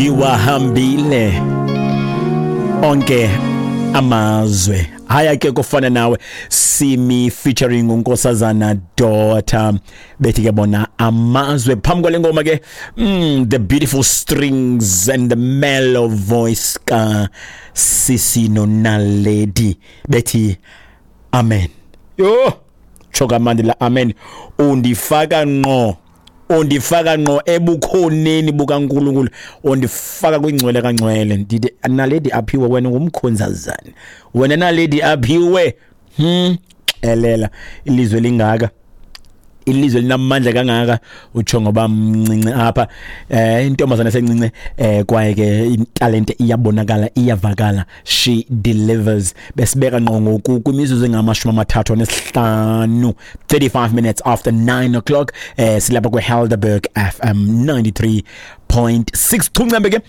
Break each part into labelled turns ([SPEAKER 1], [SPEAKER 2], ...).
[SPEAKER 1] Iwahambile onke amazwe. Haya ke kufana nawe Simi featuring uNkosazana Daughter, bethi ke bona amazwe. Phambi kwale ngoma ke, the beautiful strings and the mellow voice ka Sisi Nonaledi, bethi amen. Yo, tsho kamandi la amen. Undifaka ngqo, undifaka ngqo ebukhoneni bukaNkulunkulu, undifaka kwingcwele kangcwele. Ndithi Naledi Aphiwe, wena ngumkhonzazana wena Naledi Aphiwe. Xelela ilizwe lingaka, ilizwe linamandla kangaka, utsho ngoba mncinci apha, intombazana esencinci, kwaye ke italente iyabonakala, iyavakala, she delivers. Besibeka ngqo ngoku kwimizuzu engama-35, 35 minutes after 9 o'clock, silapha kwe-Helderberg FM 93.6 chuncembe ke,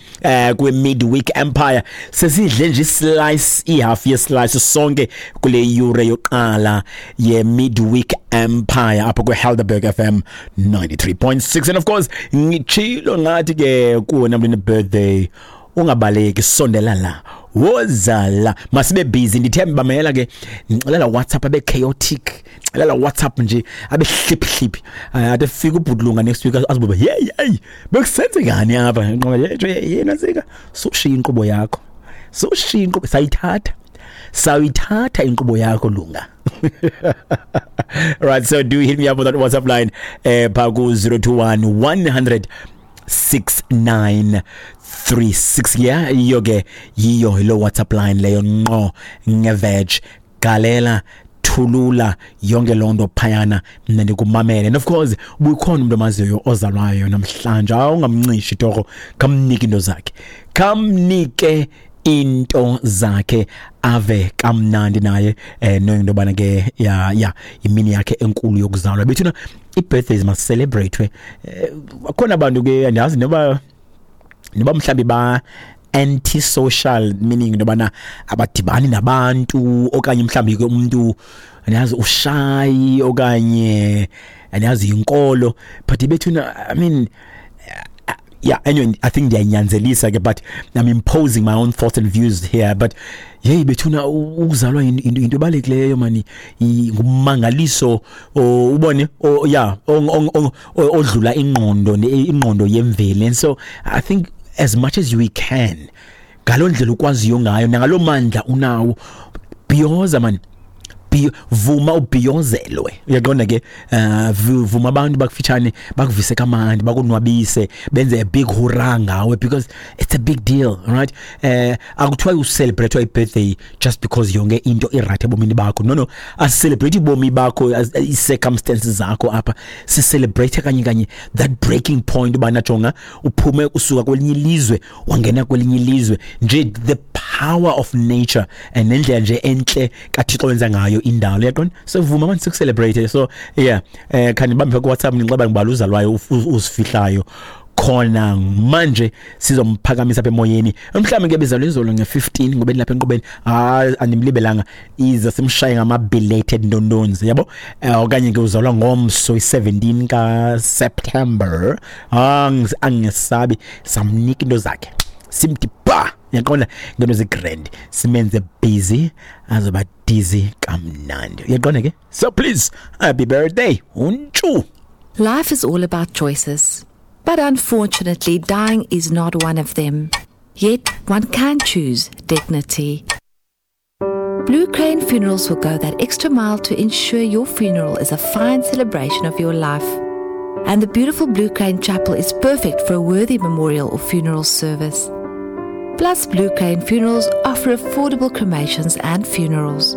[SPEAKER 1] kwe-Midweek Empire. Sesidle nje islice, ihalf yeslice sonke kule yure yoqala ye-Midweek Empire apha kwe-Helderberg FM 93.6. And of course ngitshilo ngathi ke kuwena mntu birthday, ungabaleki, sondela la, woza la, masibe busy. Ndithemba bamela ke, ndixelela WhatsApp abe chaotic, xelela WhatsApp nje abe hlip hlip, ade fika ubhudlunga next week azibuba, hey hey, bekusenzekani apha? Nqoba yena sika sushiya inkqubo yakho, sushiya inkqubo, sayithatha, sayithatha inkqubo yakho lunga. Right, so do hit me up on that WhatsApp line, pha ku 021 100 6936. Yeah, yiyo ke, yiyo lo WhatsApp line leyo ngqo ngeveg. Galela, thulula yonke loo nto phayana, mna ndikumamele. And of course ubukhona umuntu omaziyo ozalwayo namhlanje, awungamncishi torho, khamnike into zakhe, khamnike into zakhe, ave kamnandi naye, knowing into yobana ke ya imini yakhe enkulu yokuzalwa. Bethuna, i-birthdays must celebrate. Akhona abantu ke, andiyazi noba mhlambi ba antisocial, meaning into yobana abadibani nabantu, okanye mhlambi ke umuntu andiyazi ushy, okanye andiyazi inkolo, but bethuna, I mean, yeah, anyway, I think ndiyanyanzelisa ke, but I'm imposing my own thoughts and views here. But hey bethuna, ukuzalwa into ebalulekileyo mani, ngumangaliso, ubone, yeah, odlula ingqondo, ingqondo yemveli. And so I think as much as we can, ngaloo ndlela ukwaziyo ngayo nangaloo mandla unawo, bhiyoza man, vuma ubhiyozelwe, uyaqonda ke, vuma abantu bakufitshane bakuvise kamandi, bakonwabise, benze a big hurrah ngawe, because it's a big deal, right? Akuthiwa ucelebrate i-birthday just because yonke into iright ebomini bakho. No, asicelebrate ubomi bakho, i-circumstances zakho apha, sicelebrate kanye kanye that breaking point ubana jonga uphume usuka kwelinye ilizwe wangena kwelinye ilizwe nje, the power of nature and nendlela nje entle kaThixo wenza ngayo indalo, uyaqonda? So vuma manje sikucelebrate. So yeah, khanibambe ku WhatsApp, nixaba ngibala uzalwayo uzifihlayo khona manje, sizomphakamisa apha emoyeni. Mhlawumbe ke bezalwa izolo nge-15, ngoba lapha enqubeni, ah, andimlibelanga, iza simshaye ngama belated ndondonzi yabo, okanye ke uzalwa ngomso i-17 ka September, angesabi, samnika into zakhe, simthi ba, uyaqonda, ngento zigrand, simenze busy, azoba dizzy kamnandi, uyaqonda ke? So please, happy birthday untshu.
[SPEAKER 2] Life is all about choices, but unfortunately dying is not one of them. Yet one can choose dignity. Blue Crane Funerals will go that extra mile to ensure your funeral is a fine celebration of your life. And the beautiful Blue Crane Chapel is perfect for a worthy memorial or funeral service. Plus, Blue Crane Funerals offer affordable cremations and funerals.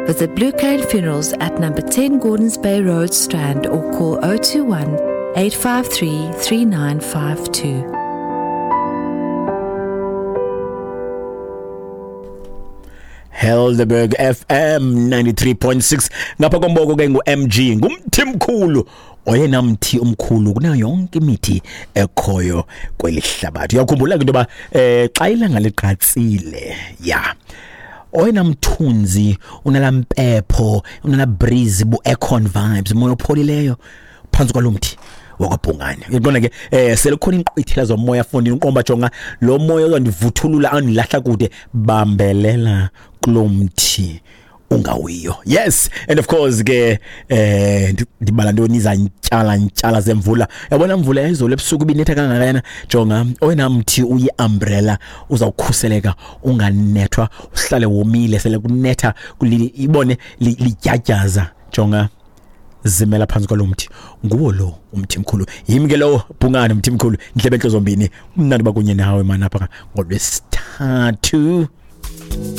[SPEAKER 2] Visit Blue Crane Funerals at number 10 Gordons Bay Road, Strand, or call 021 853 3952.
[SPEAKER 1] Helderberg FM 93.6. Ngapha komboko ke ngu-MG, ngumthi mkhulu, oyena mthi omkhulu kunayo yonke imithi ekhoyo kweli hlabathi. Uyakhumbula ke into yoba xa ilanga liqatsile, ya, oyena mthunzi unala mpepho, unala breeze, bu aircon vibes, umoya opholileyo phantsi kwalo mthi. wakwaBhungane. Uyaqonda ke, sele kukhona inkqwithela zomoya fondini, uqomba jonga lo moya uzandivuthulula andilahla kude, bambelela kulo mthi ungawiyo. Yes, and of course ke ndibala ntoni, izantyala ntyala zemvula. Yabona mvula yayizolo ebusuku ibinetha kangakana, jonga oyena mthi uyi-umbrella uzawukhuseleka unganethwa, uhlale womile. Sele kunetha ibone lidyadyaza, jonga zimela phantsi kwalo mthi, nguwo lo umthi mkhulu. Yimi ke lowo Bhungane mthi mkhulu, ndlebe entlo zombini, umnandi bakunye nawe manapha ngolwesithathu.